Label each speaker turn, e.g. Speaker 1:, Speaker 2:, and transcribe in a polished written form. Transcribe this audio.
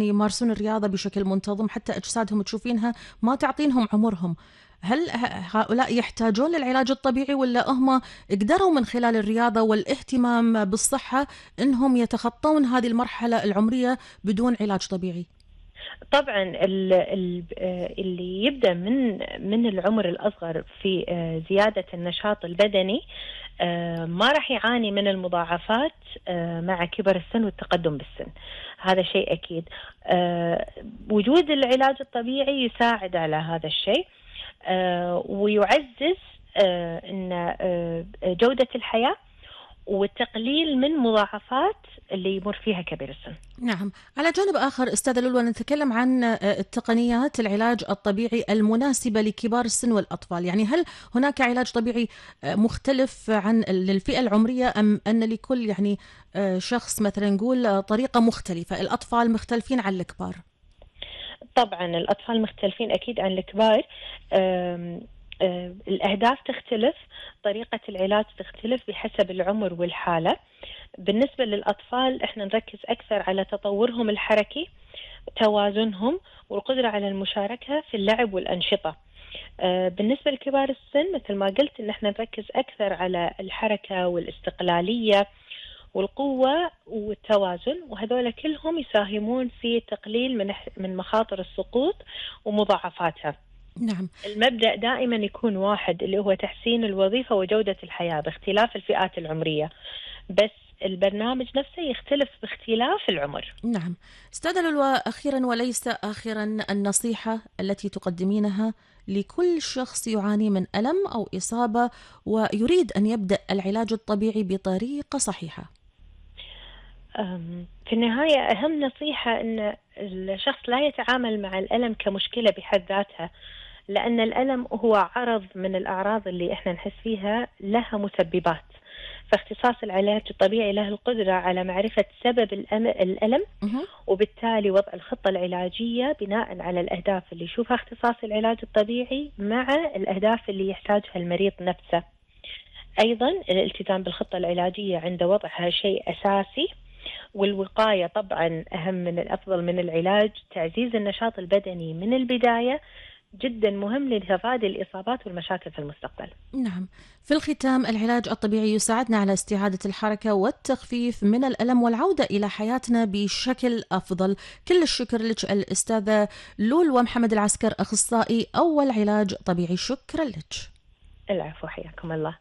Speaker 1: يمارسون الرياضة بشكل منتظم حتى أجسادهم تشوفينها ما تعطينهم عمرهم. هل هؤلاء يحتاجون للعلاج الطبيعي ولا هم قدروا من خلال الرياضة والاهتمام بالصحة إنهم يتخطون هذه المرحلة العمرية بدون علاج طبيعي؟
Speaker 2: طبعا اللي يبدأ من العمر الأصغر في زيادة النشاط البدني ما راح يعاني من المضاعفات مع كبر السن والتقدم بالسن. هذا شيء أكيد. وجود العلاج الطبيعي يساعد على هذا الشيء ويعزز إن جودة الحياة والتقليل من مضاعفات اللي يمر فيها كبير السن.
Speaker 1: نعم. على جانب آخر أستاذة لولو، نتكلم عن التقنيات العلاج الطبيعي المناسبة لكبار السن والأطفال. يعني هل هناك علاج طبيعي مختلف عن للفئة العمرية، أم أن لكل يعني شخص مثلا نقول طريقة مختلفة؟ الأطفال مختلفين عن الكبار؟
Speaker 2: طبعا الأطفال مختلفين أكيد عن الكبار. الأهداف تختلف، طريقة العلاج تختلف بحسب العمر والحالة. بالنسبة للأطفال احنا نركز أكثر على تطورهم الحركي، توازنهم، والقدرة على المشاركة في اللعب والأنشطة. بالنسبة لكبار السن مثل ما قلت ان احنا نركز أكثر على الحركة والاستقلالية والقوة والتوازن، وهذول كلهم يساهمون في تقليل من مخاطر السقوط ومضاعفاتها.
Speaker 1: نعم.
Speaker 2: المبدأ دائما يكون واحد، اللي هو تحسين الوظيفة وجودة الحياة باختلاف الفئات العمرية، بس البرنامج نفسه يختلف باختلاف العمر.
Speaker 1: نعم. أستاذة لولو، أخيرا وليس آخرا، النصيحة التي تقدمينها لكل شخص يعاني من ألم أو إصابة ويريد أن يبدأ العلاج الطبيعي بطريقة صحيحة؟
Speaker 2: في النهاية أهم نصيحة أن الشخص لا يتعامل مع الألم كمشكلة بحد ذاتها، لأن الألم هو عرض من الأعراض اللي إحنا نحس فيها لها مسببات. فاختصاص العلاج الطبيعي له القدرة على معرفة سبب الألم، وبالتالي وضع الخطة العلاجية بناء على الأهداف اللي يشوفها اختصاص العلاج الطبيعي مع الأهداف اللي يحتاجها المريض نفسه. أيضا الالتزام بالخطة العلاجية عند وضعها شيء أساسي، والوقاية طبعا أهم من الأفضل من العلاج. تعزيز النشاط البدني من البداية جدا مهم لتفادي الإصابات والمشاكل في المستقبل.
Speaker 1: نعم. في الختام، العلاج الطبيعي يساعدنا على استعادة الحركة والتخفيف من الألم والعودة إلى حياتنا بشكل أفضل. كل الشكر لك الأستاذة لولو محمد العسكر، أخصائي أول علاج طبيعي. شكرا لك.
Speaker 2: العفو، حياكم الله.